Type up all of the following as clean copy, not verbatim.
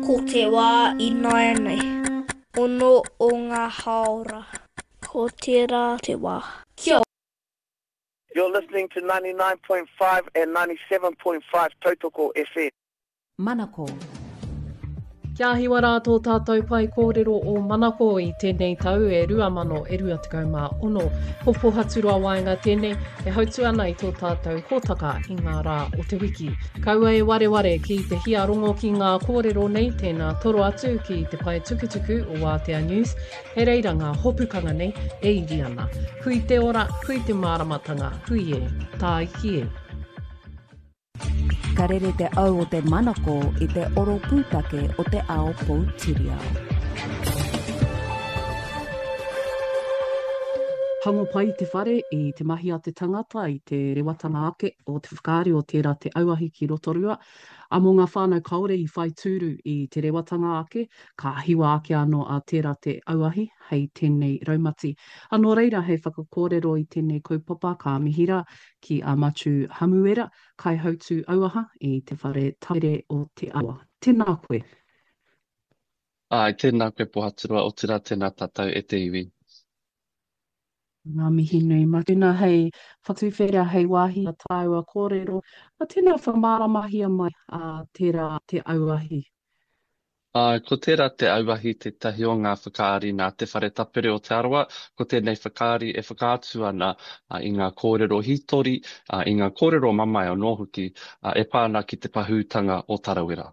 Ko te wā ināianei. Ono o ngā hāora. Ko tērā te wā. Kia You're listening to 99.5 and 97.5 Tautoko FM. Manako. Kia hiwa rā tō tātou pae kōrero o Manako i tēnei tau e 2026. Ko Pohaturoa Waenga tēnei e hautu ana i tō tātou hōtaka i ngā rā o te wiki. Kaua e wareware ki te hia rongo ki ngā kōrero nei, tēnā toro atu ki te pae tukutuku o Wātea News, hei reira ngā hopukanga nei e iri ana. Hui te ora, hui te māramatanga, hui e, tāiki e. Ka rere te au o te manako i te oro pūtake o te ao poutiriao. Tango pai te whare i te mahi a te tangata, i te rewatanga ake o te whakaari o tērā te auahi ki Rotorua. A mō ngā whānau kāore i whai tūru i te rewatanga ake, ka hiwa ake anō a tērā te auahi hei tēnei raumati. A nō reira hei whakakōrero i tēnei kaupapa ka mihi rā ki a Matiu Hamuera, Kaihautū Auaha i Te Whare Tapere o Te Arawa. Tēnā koe. Āe, tēnā koe Pohaturoa, otirā tēnā tātou e te iwi. Ngā mihi nui. Mā tēnā hei whakatuwhera, hei wāhi a tāua kōrero, mā tēnā whakamāramahia mai a tērā te auahi. Āe, ko tērā te auahi tētahi o ngā whakaari nā Te Whare Tapere o Te Arawa. Ko tēnei whakaari e whakaatu ana i ngā kōrero hītori, i ngā kōrero mamae anō hoki e pā ana ki te pahūtanga o Tarawera.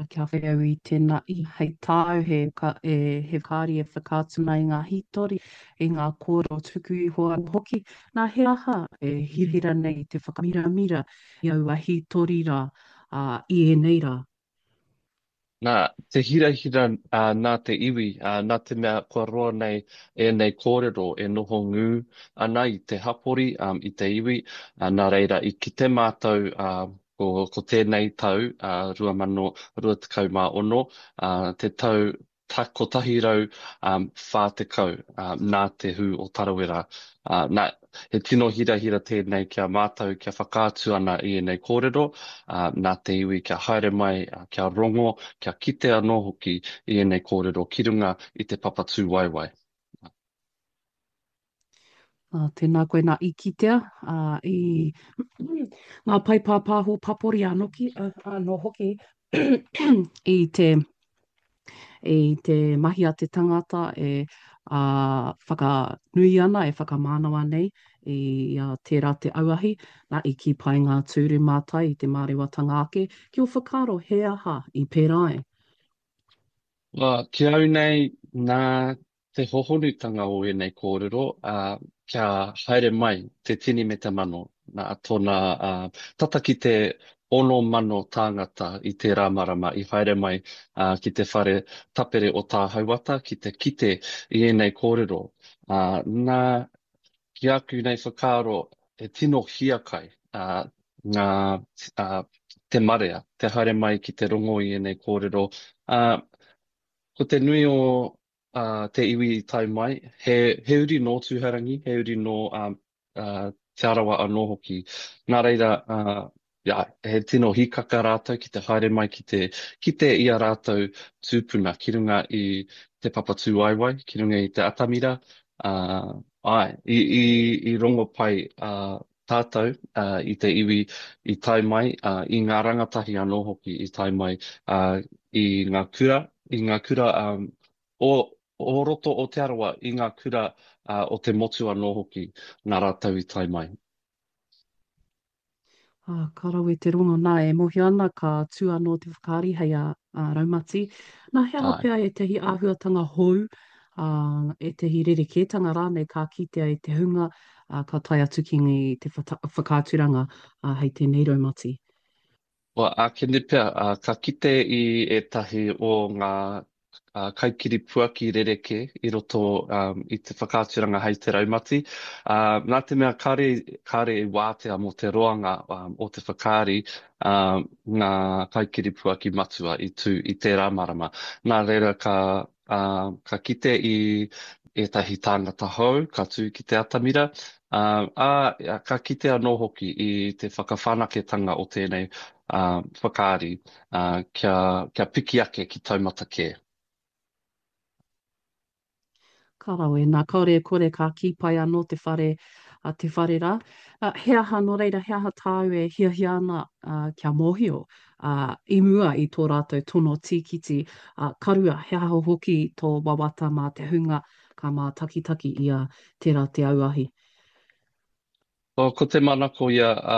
Kia whai au i tēnā i hei tāu he he whakaari e whakaatu ana i ngā hītori, i ngā kōrero tuku iho anō hoki. Nā, he aha e hirahira nei te whakamiramira i aua hītori rā, ā, i ēnei rā? Nā, te hirahira nā te iwi, nā te mea kua roa nei ēnei kōrero e noho ngū ana i te hapori, i te iwi, nā reira i kite mātou ko tēnei tau, 2026, te tau 140 nā te hū o Tarawera. Nā, he tino hirahira tēnei ki a mātou kia whakaatu ana i ēnei kōrero, nā te iwi kia haere mai, kia rongo, kia kite anō hoki i ēnei kōrero ki runga i te papa tūwaewae. Ā, tēnā koe nā i kitea, ā, i ngā pae pāpāho papori anoki, anō hoki i te, i te mahi a te tangata e ā, whakanui ana, e whakamānawa nei i a tērā te auahi, nā, i kī pai ngā tūru mātai i te mārewatanga ake, ki ō whakaaro he aha i pērā ai? Ā, ki au nei, nā te hohonutanga o ēnei kōrero, ā, kia haere mai te tini me te mano, nā tōna, ā, tata ki te 6,000 tāngata i tērā marama i haere mai, ā, ki te whare tapere o Tāhauata ki te kite i ēnei kōrero. Ā, nā, ki aku nei whakaaro, he tino hiakai, ā, ngā, ā, te marea, te haere mai ki te rongo i ēnei kōrero. Ā, ko te nui o, ā, te iwi i tae mai, he, he uri nō Tūhourangi, he uri nō, ā, ā, Te Arawa anō hoki. Nā reira, ā, ia, he tino hīkaka rātou ki te haere mai ki te kite i a rātou tūpuna ki runga i te papa tūwaewae, ki runga i te atamira, ā, āe, i, i, i rongo pai, ā, tātou, ā, i te iwi i tae mai, ā, i ngā rangatahi anō hoki i tae mai, ā, i ngā kura, i ngā kura, ā, o, o roto o Te Arawa, i ngā kura, ā, o te motu anō hoki, nā rātou i tae mai. Ā, ka rawe te rongo, nā, e mōhio ana ka tū anō te whakaari hei a, a Raumati. Nā, he aha Āe. pea ētahi āhuatanga hou, ā, ētahi rerekētanga rānei ka kitea e te hunga, ā, ka tae atu ki te whakaaturanga, ā, hei tēnei raumati? Well, ākene pea, ā, ka kite i ētahi o ngā kaikiripuaki rerekē i roto i te whakaaturanga hei te raumati. Ā, nā te mea kāre, kāre i wātea mō te roanga o te whakaari, ā, ngā kaikiripuaki matua i tū i tērā marama. Nā reira ka, ā, ka kite i, ētahi tāngata hou ka tū ki te atamira, ā, ā, ka kite anō hoki i te whakawhanaketanga o tēnei whakaari, ā, kia, kia piki ake ki taumata kē. Ka rawe, nā, kāore e kore ka kī pai anō te whare, a, te whare rā. A, he aha, nō reira, he aha tāu e hiahia ana a, kia mōhio a, i mua i tō rātou tono tīkiti, a, ka rua, he aha hoki tō wawata mā te hunga ka mātakitaki i a Tērā Te Auahi? Oh, ko te manako ia, ā,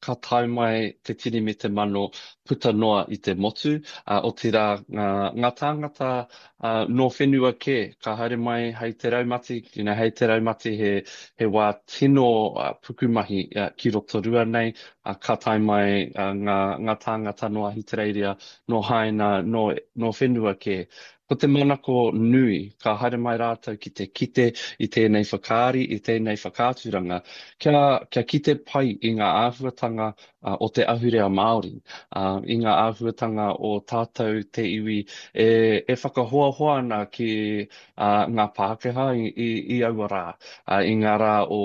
ka tae mai te tini me te mano puta noa i te motu, ā, otirā ngā, ngā tāngata, ā, nō whenua kē, ka haere mai hei te raumati, you know, hei te raumati he, he wā tino pukumahi ki Rotorua nei, ā, ka tae mai ngā, ngā tāngata nō Ahitereiria, nō Haina, nō, nō whenua kē. Ko te manako nui, ka haere mai rātou ki te kite i tēnei whakaari, i tēnei whakaaturanga, kia, kia kite pai i ngā āhuatanga o te ahurea Māori, i ngā āhuatanga o tātou te iwi e, e whakahoahoa ana ki ngā Pākehā i, i, i aua rā, i ngā rā o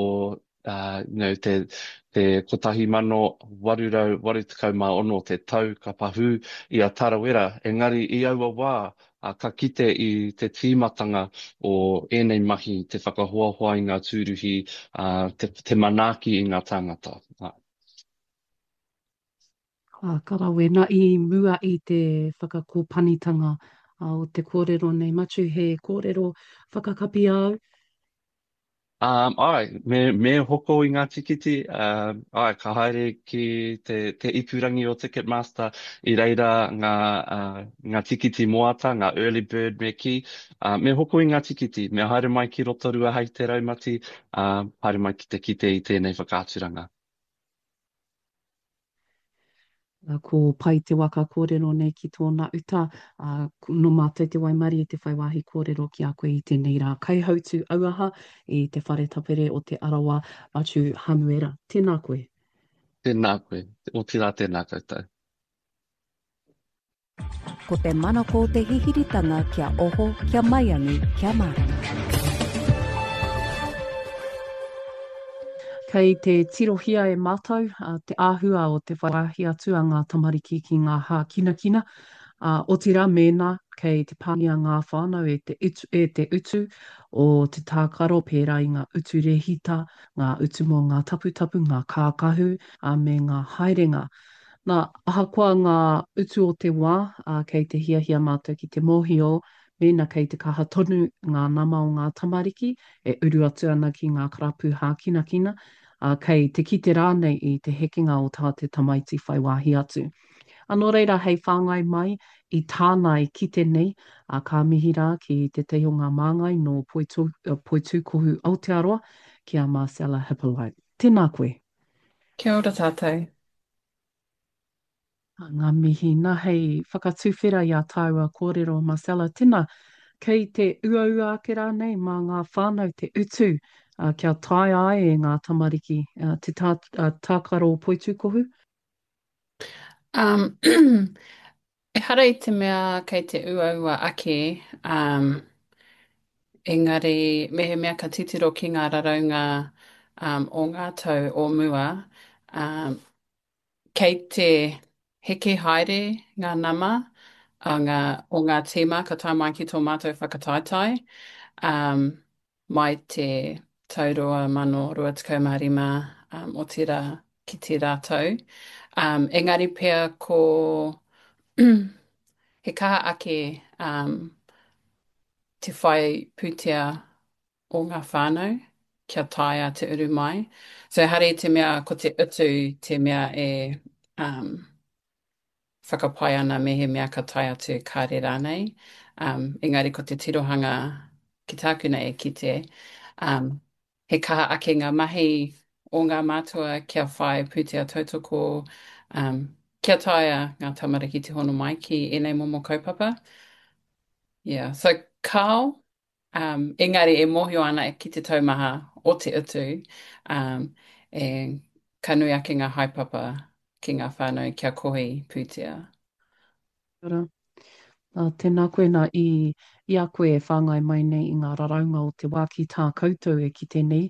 you know, te, te 1886 te tau ka pahū i a Tarawera, engari i aua wā, ka kite i te tīmatanga o ēnei mahi, te whakahoahoa i ngā tūruhi, te, te manaaki i ngā tāngata. Ka rawe, na i mua i te whakakōpanitanga o te kōrero nei, Matiu, he kōrero whakakapi āu? Um, āe, me, me hoko i ngā tīkiti, um, āe, ka haere ki te, te ipurangi o Ticketmaster, i reira ngā, uh, ngā tīkiti moata, ngā early bird me kī, uh, me hoko i ngā tīkiti, me haere mai ki Rotorua hei te raumati, uh, haere mai ki te kite i tēnei whakaaturanga. Ko Pai te waka kōrero nei ki tōna uta, ā, nō mātou te waimarie te whai wāhi kōrero ki a koe i tēnei rā. Kaihautū auaha i te Whare Tapere o Te Arawa, Matiu Hamuera. Tēnā koe. Tēnā koe. Otirā tēnā koutou. Ko te manako o te hihiritanga kia oho, kia maiangi, kia mārama. Kei te tirohia e mātou te āhua o te whai wāhi atu a ngā tamariki ki ngā hākinakina, ā, otirā mēnā kei te pāngia ngā whānau e te utu, e te utu o te tākaro pērā i ngā utu rēhita, ngā utu mō ngā taputapu, ngā kākahu, ā, me ngā haerenga. Nā, ahakoa ngā utu o te wā, ā, kei te hiahia mātou ki te mōhio mēnā kei te kaha tonu ngā nama o ngā tamariki e uru atu ana ki ngā karapu hākinakina, ā, kei te kite rānei i te hekenga o tā te tamaiti whai wāhi atu. Ā, nō reira, hei whāngai mai i tāna i kite nei, ā, ka mihi rā ki tētahi o ngā māngai nō Poitūkohu Aotearoa, ki a Marcella Hippolyte. Tēnā koe. Kia ora tātou. Ngā mihi. Na, hei whakatuwhera i a tāua kōrero, Marcella, tena, kei te uaua ake rānei mā ngā whānau te utu kia taea ai e ngā tamariki te tākaro poitūkohu? Um, ehara i te mea kei te uaua ake, um, engari mehemea ka titiro ki ngā raraunga um, o ngā tau o mua, um, kei te heke haere ngā nama a ngā, o ngā tīma ka tae mai ki tō mātou whakataetae. Um, mai te tau 2025, um, otirā ki tērā tau. Um, engari pea ko he kaha ake um, te whai pūtea o ngā whānau kia taea te uru mai. So ehara i te mea ko te utu te mea e um, whakapae ana mehemea ka tae atu kāre rānei. Um, engari ko te tirohanga ki tāku nei e kite, um, he kaha ake ngā mahi o ngā mātua kia whai pūtea tautoko, um, kia taea ngā tamariki te hono mai ki ēnei momo kaupapa. Yeah. So, kāo, Um, engari e mōhio ana ki te taumaha o te utu, um, e, ka nui ake ngā haepapa ki ngā whānau kia kohi pūtea. Ora. Ā, tēnā koe nā i, i a koe e whāngai mai nei i ngā raraunga o te wā ki tā koutou e kite nei.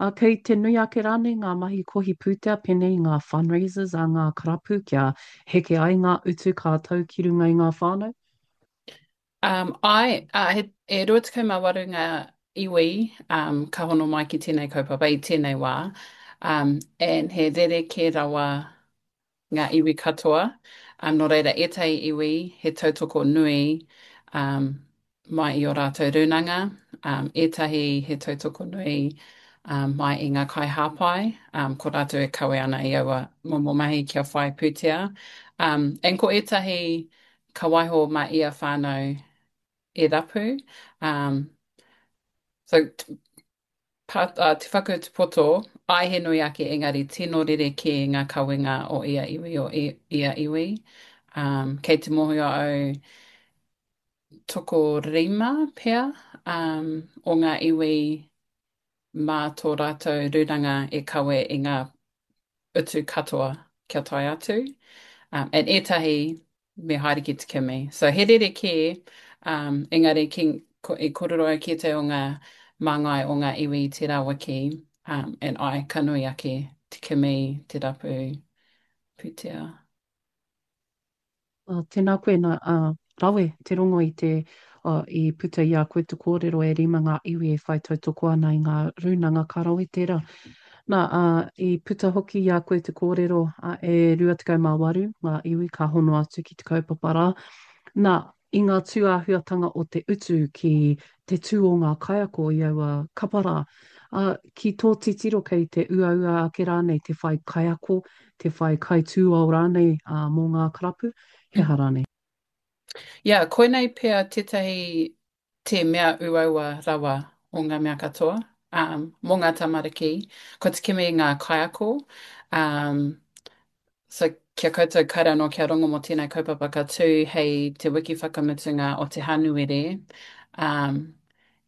Ā, kei te nui ake rānei ngā mahi kohi pūtea pēnei i ngā fundraisers a ngā karapu kia heke ai ngā utu ka tau ki runga i ngā whānau? Um, āe, ā, he, e 28 ngā iwi um, ka hono mai ki tēnei kaupapa i tēnei wā, um, and he rerekē rawa ngā iwi katoa, um, nō reira ētahi iwi he tautoko nui um, mai i ō rātou rūnanga, um, ētahi he tautoko nui um, mai i ngā kaihāpai, um, ko rātou e kawe ana i aua momo mahi kia whai pūtea. Um, and ko ētahi ka waiho mā ia whānau e rapu. Um, so, Pa, uh, te whakautu poto, āe he nui ake engari tino rerekē ngā kawenga o ia iwi o ia iwi. Um, kei te mōhio au tokorima pea um, o ngā iwi mā tō rātou rūnanga e kawe i ngā utu katoa kia tae atu. Um, and ētahi me haere ki te kimi. So he rerekē, um, engari ki, ko, i kōrero au ki ētahi o ngā māngai o ngā iwi i tērā wiki, um, and āe, ka nui ake te kimi, te rapu pūtea. Tēnā koe, nā, rawe te rongo i te, i puta i a koe te kōrero e rima ngā iwi e whai tautoko ana i ngā rūnanga, ka rawe tērā. Nā, i puta hoki i a koe te kōrero, e 28 ngā iwi ka hono atu ki te kaupapa rā. Nā, i ngā tūāhuatanga o te utu ki te tū o ngā kaiako i aua kapa rā, ki tō titiro kei te uaua ake rānei te whai kaiako, te whai kaitūao rānei mō ngā karapu, he aha rānei? Yeah, koinei pea tētahi te mea uaua rawa o ngā mea katoa, um, mō ngā tamariki, ko te kimi i ngā kaiako, um, so kia koutou kāre anō kia rongo mō tēnei kaupapa ka tū hei te wiki whakamutunga o te Hānuere, um,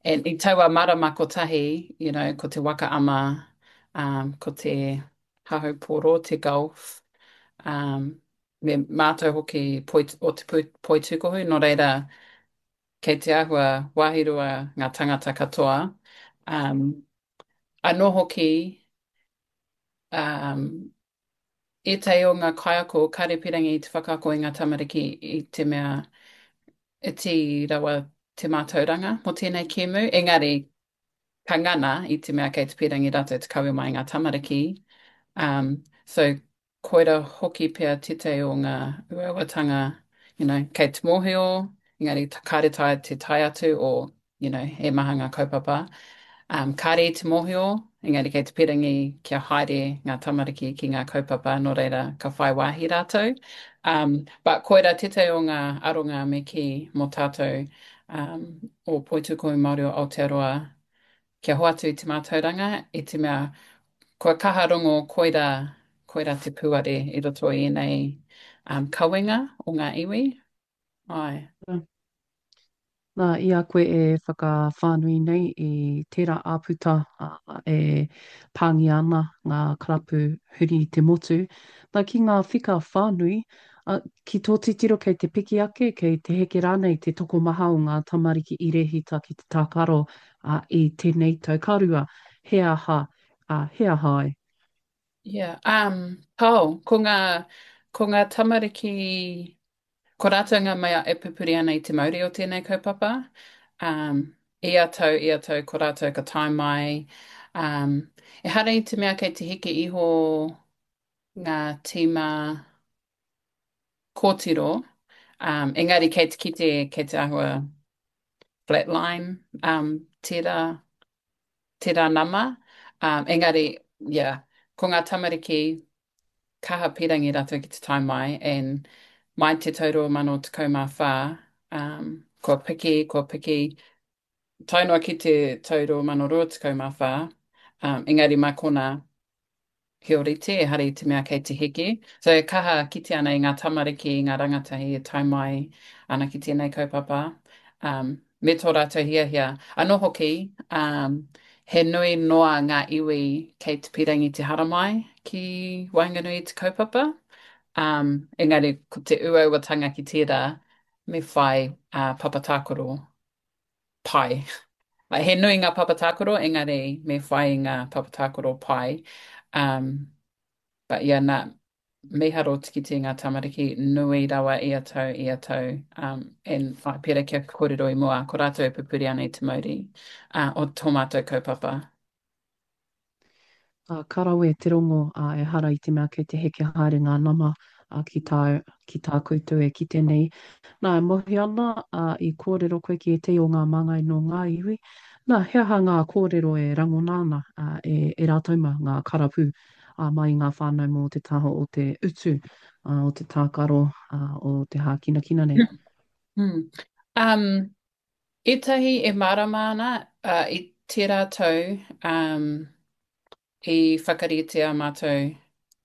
and i taua marama kotahi, you know, ko te waka ama, um, ko te hahaupōro, te golf, um, me mātou hoki poi, o te poitūkohu, nō reira, kei te āhua wāhirua ngā tangata katoa. Um, anō hoki, um, ētahi o ngā kaiako kāre pirangi i te whakaako i ngā tamariki i te mea iti rawa te mātauranga mō tēnei kēmu, engari ka ngana i te mea kei te pīrangi rātou te kawe mai i ngā tamariki. Um, so, koira hoki pea tētahi o ngā uauatanga, you know, kei te mōhio, engari kāre taea te tae atu o, you know, he maha ngā kaupapa. Um, kāre i te mōhio, engari kei te pīrangi kia haere ngā tamariki ki ngā kaupapa, nō reira ka whai wāhi rātou. Um, but koira tētahi o ngā aronga me kī mō tātou um, o Poitūkohu Māori o Aotearoa kia hoatu i te mātauranga i te mea kua kaha rongo koira, koira te pūare i roto i ēnei um, kawenga o ngā iwi. Āe. Nā, i a koe e whakawhānui nei i tērā āputa e pāngia ana ngā karapu huri i te motu, nā, ki ngā whika whānui, Ā, ki tō titiro kei te piki ake, kei te heke rānei te tokomaha o ngā tamariki i rēhita ki te tākaro, ā, i tēnei tau ka rua, he aha, ā, he aha ai? Yeah, um, kao, ko ngā, ko ngā tamariki, ko rātou ngā mea e pupuri ana i te mauri o tēnei kaupapa. Um, ia tau, ia tau, ko rātou ka tae mai. Um, ehara i te mea kei te heke iho ngā tīma kōtiro, um, engari kei te kite, kei te āhua flatline um, tērā, tērā nama. Um, engari, yeah, ko ngā tamariki kaha pīrangi rātou ki te tae mai, and mai te tau 2014, um, kua piki, kua piki, tae noa ki te tau 2024, um, engari mā konā, He ōrite, ehara i te mea kei te heke. So e kaha kite ana i ngā tamariki, i ngā rangatahi e tae mai ana ki tēnei kaupapa, um, me tō rātou hiahia. Anō hoki, um, he nui noa ngā iwi kei te pīrangi te haramai ki waenganui i te kaupapa, um, engari ko te uauatanga ki tērā, Me whai uh, papa tākaro pai. Like, he nui ngā papa tākaro, engari me whai i ngā papa tākaro pai. Um, but yeah, nā, mīharo te kite i ngā tamariki nui rawa ia tau, ia tau. Um, and ai, pērā kia kōrero i mua, ko rātou e pupuri ana i te mauri uh, o tō mātou kaupapa. Ā, ka rawe te rongo, ā, ehara i te mea kei te heke haere ngā nama, ā, ki tā, ki tā koutou e kite nei. Nā, e mōhio ana, ā, i kōrero koe ki ētahi o ngā māngai nō ngā iwi. Nā, he aha ngā kōrero e rangona ana, ā, e, e rātou mā, ngā karapū, ā, mai i ngā whānau mō te taha o te utu, ā, o te tākaro, ā, o te hākinakina nei? Mm. Um, ētahi e mārama ana, uh, i tērā tau, um, I whakaritea mātou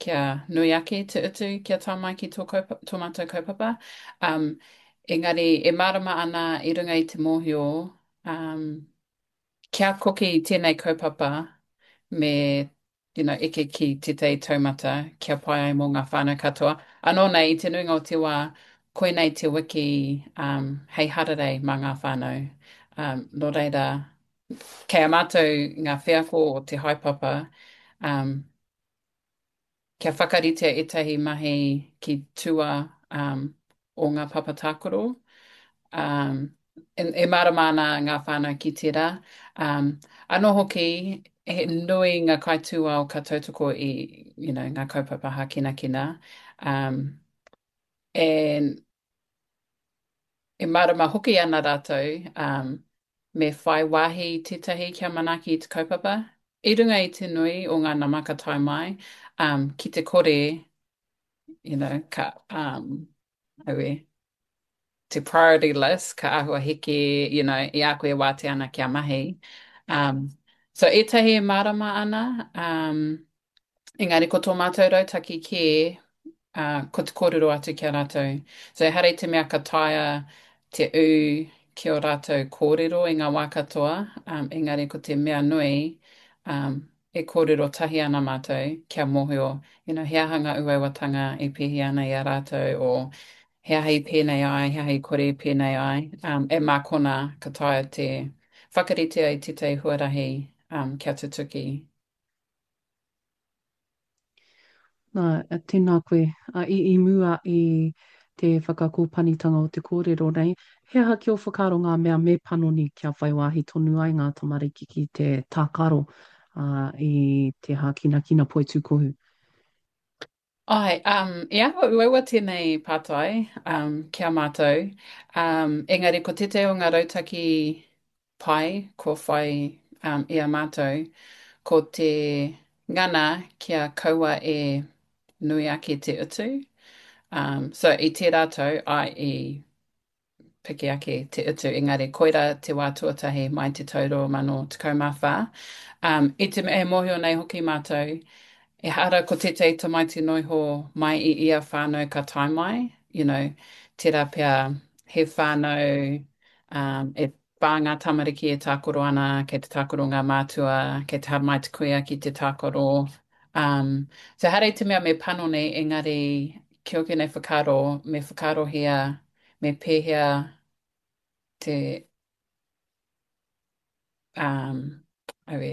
kia nui ake te utu kia tae mai ki tō kaupa, tō mātou kaupapa. Um, engari e mārama ana i runga i te mōhio um, kia koke i tēnei kaupapa me you know, eke ki tētahi taumata kia pai ai mō ngā whānau katoa. Anō nei, i te nuinga o te wā, koinei te wiki um, hei hararei mā ngā whānau. Um, nō reira, Kei a mātou ngā wheako o te haepapa um, kia whakaritea ētahi mahi ki tua um, o ngā papa tākaro. Um, e, e mārama ana ngā whānau ki tērā. Um, anō hoki, he nui ngā kaitūao ka tautoko i you know, ngā kaupapa hākinakina. Um, and E mārama hoki ana rātou me whai wāhi tētahi kia manaaki i te kaupapa. I runga i te nui o ngā nama ka tae mai, ki te kore, you know, ka, um, aue, te priority list ka āhua heke, you know, i a koe e wātea ana kia mahi. Um, so ētahi e mārama ana, um, engari ko tō mātou rautaki kē, ā, ko te kōrero atu ki a rātou. So ehara i te mea ka taea te ū ki ō rātou kōrero i ngā wā katoa, um, engari ko te mea nui, um, e kōrero tahi ana mātou kia mōhio, you know, he aha ngā uauatanga e pēhi ana i a rātou, o he aha i pēnei ai, he aha i kore i pēnei ai, um, e mā konā ka taea te whakaritea i tētahi huarahi um, kia tutuki. Nā, tēnā koe. I, i mua i te whakakōpanitanga o te kōrero nei, he aha ki ō whakaaro ngā mea me panoni kia whai wāhi tonu ai ngā tamariki ki te tākaro i te hākinakina poitūkohu? Āe, um, i āhua uaua tēnei pātai um, ki a mātou, um, engari ko tētahi o ngā rautaki pai kua whai um, i a mātou, ko te ngana kia kaua e nui ake te utu. Um, so i tērā tau, āe, i piki ake te utu, engari koirā te wā tuatahi mai te tau 2014. Um, i te mea e mōhio nei hoki mātou, ehara ko tētahi tamaiti noiho mai i ia whānau ka tae mai, you know, tērā pea he whānau um, e whā ngā tamariki e tākaro ana, kei te tākaro ngā mātua, kei te haramai te kuia ki te tākaro. Um, so ehara i te mea me panoni, engari ki ōku nei whakaaro, me whakaarohia me pēhea te, um, aue,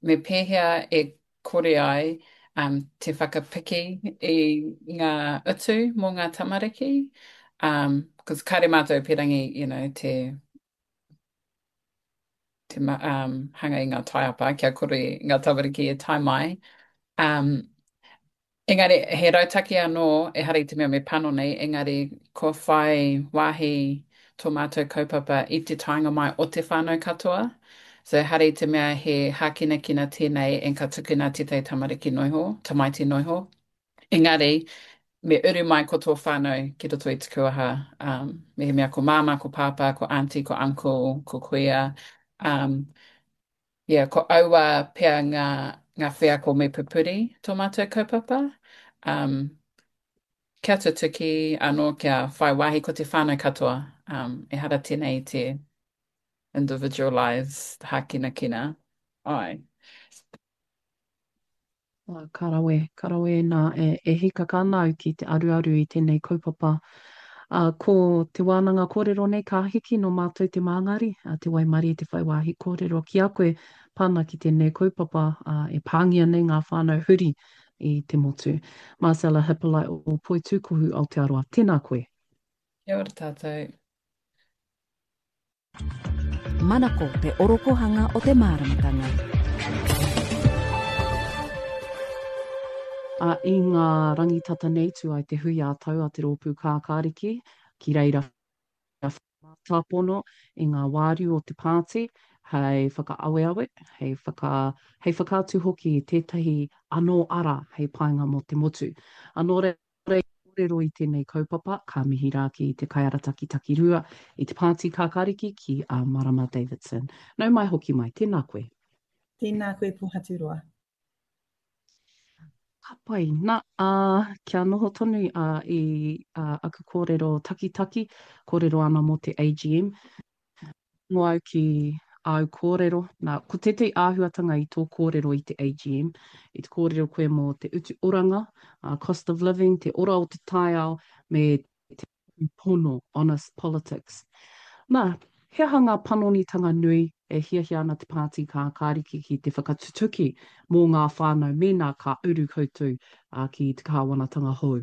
me pēhea e kore ai um, te whakapiki i ngā utu mō ngā tamariki. Um, cause kāre mātou pērangi, you know, te, te um, hanga i ngā taiapa kia kore ngā tamariki e tae mai. Um, Engari, he rautaki anō, ehara i te mea me panoni, engari kua whai wāhi tō mātou kaupapa i te taenga mai o te whānau katoa. So ehara i te mea he hākinakina tēnei and ka tukuna tētahi tamariki noiho, tamaiti noiho. Engari, me uru mai ko tō whānau ki roto i te kuaha, um, mehemea ko māmā, ko pāpā, ko auntie, ko uncle, ko kuia, um, Yeah, ko aua pea ngā, ngā wheako me pupuri tō mātou kaupapa. Um, kia tutuki anō kia whai wāhi ko te whānau katoa. Um, ehara tēnei i te individualised hākinakina. Āe. Ka rawe, ka rawe nā, e, e hīkaka ana au ki te aruaru i tēnei kaupapa. Ā, ko te wānanga kōrero nei ka hiki nō mātou te māngari, ā, te waimarie te whai wāhi kōrero ki a koe pā ana ki tēnei kaupapa, ā, e pāngia nei ngā whānau huri i te motu. Marcella Hippolite o Poitūkohu Aotearoa, tēnā koe. Kia ora tātou. Manako te orokohanga o te māramatanga. Ā, i ngā rangi tata nei tū ai te hui ā-tau a Te Rōpū Kākāriki, ki reira mātāpono i ngā wāriu o te pāti hei whakaaweawe, hei whaka, hei whakaatu hoki i tētahi anō ara hei painga mō te motu. Ā, nō reira, kōrero i tēnei kaupapa, ka mihi rā ki te kaiarataki takirua i te Pāti Kākāriki ki a Marama Davidson. Nau mai hoki mai, tēnā koe. Tēnā koe Pohaturoa. Ka pai. Na, ā, kia noho tonu ā, i ā, aku kōrero takitaki, kōrero ana mō te AGM. Rongo au ki āu kōrero. Nā, ko tētahi āhuatanga i tō kōrero i te AGM, i te kōrero koe mō te utu oranga, cost of living, te ora o te taiao, me te pono, honest politics. Nā, he aha ngā panonitanga nui e hiahia ana te Pāti Kākāriki ki te whakatutuki mō ngā whānau mēnā ka uru koutou ki te kāwanatanga hou?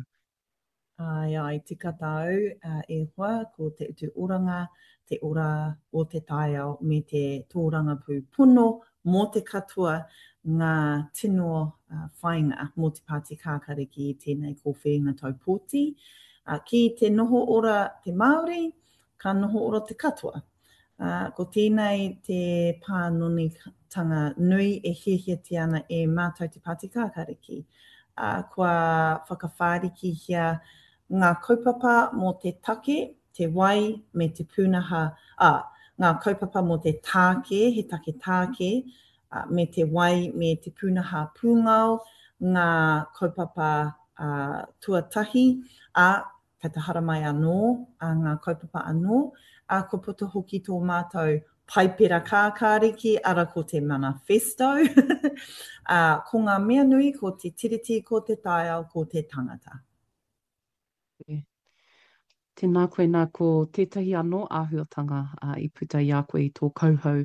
Āe, āe, tika tāu, e hoa, ko te utu oranga, te ora o te taiao me te tōrangapū pono mō te katoa ngā tino whāinga mō te Pāti Kākariki i tēnei kōwhiringa tau pōti. Ki te noho ora te Māori, ka noho ora te katoa. Ā, ko tēnei te pānonitanga nui e hiahiatia ana e mātou te Pāti Kākāriki. Ā, kua whakawhārikihia ngā kaupapa mō te take, te wai me te pūnaha, ā, ngā kaupapa mō te tāke, he take tāke, ā, me te wai me te pūnaha pūngao, ngā kaupapa, ā, tuatahi, ā, Kei te haramai anō a ngā kaupapa anō, ā, kua puta hoki tō mātou Paipera Kākāriki, ara ko te Manifesto. Ā, ko ngā mea nui ko te Tiriti, ko te taiao, ko te tangata. Tēnā koe, nā, ko tētahi anō āhuatanga i puta i a koe i tō kauhau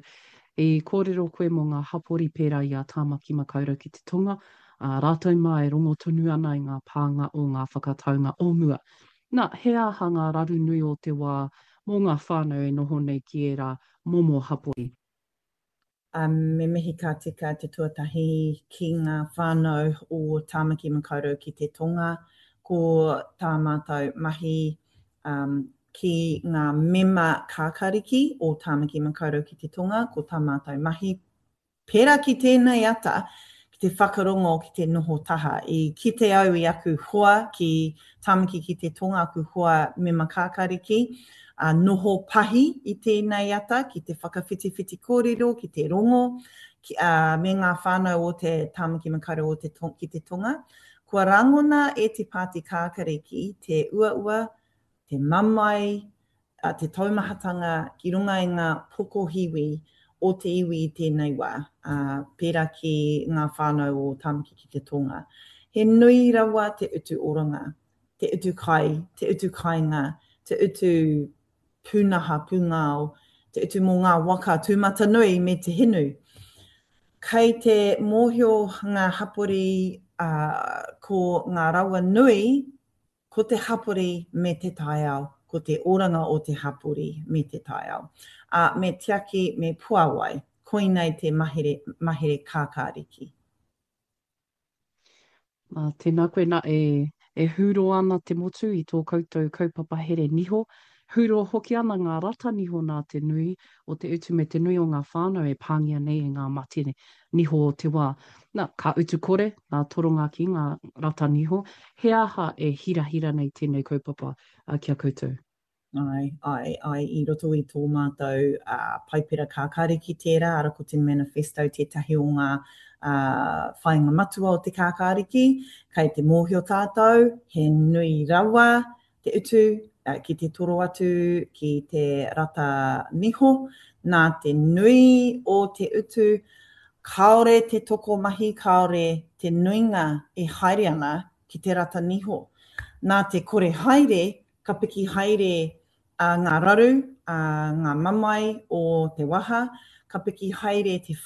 I kōrero koe mō ngā hapori pērā i a Tāmaki Makaurau ki te Tonga, ā, rātou mā e rongo tonu ana i ngā pānga o ngā whakataunga o mua. Nā, he aha ngā raru nui o te wā mō ngā whānau e noho nei ki ērā momo hapori? Me mihi ka tika te tuatahi ki ngā whānau o Tāmaki Makaurau ki te Tonga. Ko tā mātou mahi ki ngā mema kākariki o Tāmaki Makaurau ki te Tonga, ko tā mātou mahi, pērā ki tēnei ata, ki te whakarongo, ki te noho taha. I kite au i aku hoa ki Tāmaki ki te Tonga, aku hoa mema kākariki, ā, noho pahi i tēnei ata ki te whakawhitiwhiti kōrero, ki te rongo, ki, ā, me ngā whānau o te Tāmaki Makaurau o te, ki te Tonga. Kua rangona e te Pāti Kākariki te uaua, te mamae, te taumahatanga ki runga i ngā pokohiwi o te iwi i tēnei wā, pērā ki ngā whānau o Tāmaki ki te Tonga. He nui rawa te utu oranga, te utu kai, te utu kāinga, te utu pūnaha pūngao, te utu mō ngā waka tūmatanui me te hinu. Kei te mōhio ngā hapori ko ngā rawa nui Ko te hapori me te taiao, ko te oranga o te hapori me te taiao. Ā, me tiaki, me puāwai. Koinei te mahere, mahere kākāriki. Ā, tēnā koe, nā, e, e hūro ana te motu i tō koutou kaupapa here niho, hūro hoki ana ngā rata niho nā te nui o te utu me te nui o ngā whānau e pāngia nei e ngā mate niho o te wā. Na, ka utu kore ngā toronga ki ngā rata niho. He aha e hirahira nei tēnei kaupapa ki a koutou? Āe, āe, āe, i roto i tō mātou Paipera Kākāriki tērā, ara ko te manifesto tētahi o ngā whāinga matua o te Kākāriki. Kei te mōhio tātou, he nui rawa te utu ki te toro atu ki te rata niho, nā te nui o te utu, kāore te tokomahi, kāore te nuinga e haere ana ki te rata niho. Nā te kore haere, Ka piki haere ngā raru, ngā mamae o te waha, ka piki haere te.